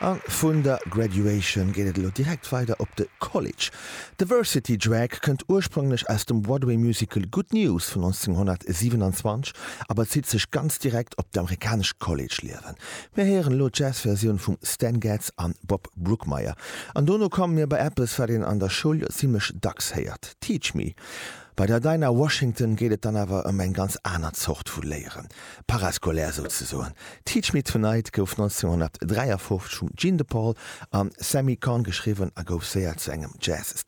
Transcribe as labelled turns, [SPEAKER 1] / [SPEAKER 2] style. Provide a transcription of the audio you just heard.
[SPEAKER 1] A vun der Graduation geet et elo direkt weider op de College. De Varsity Drag kënnt ursprünglech aus dem Broadway Musical Good News vun 1927 a bezitt sech ganz direkt op d'amerikanescht College-Liewen. Mir héieren elo d'Jazz-Versioun vum Stan Getz an Bob Brookmeyer. An dono komme mir bei eppes, wat een an der Schoul jo zimmlech dacks héiert, Teach Me. Bei der Dinah Washington geet et dann awer ëm eng ganz aner Zort vu Léieren, parascolaire souzesoen. Teach Me Tonight gouf 1953 vum Gene DePaul a Sammy Cahn geschriwwen a gouf séier zu engem Jazz-Standard.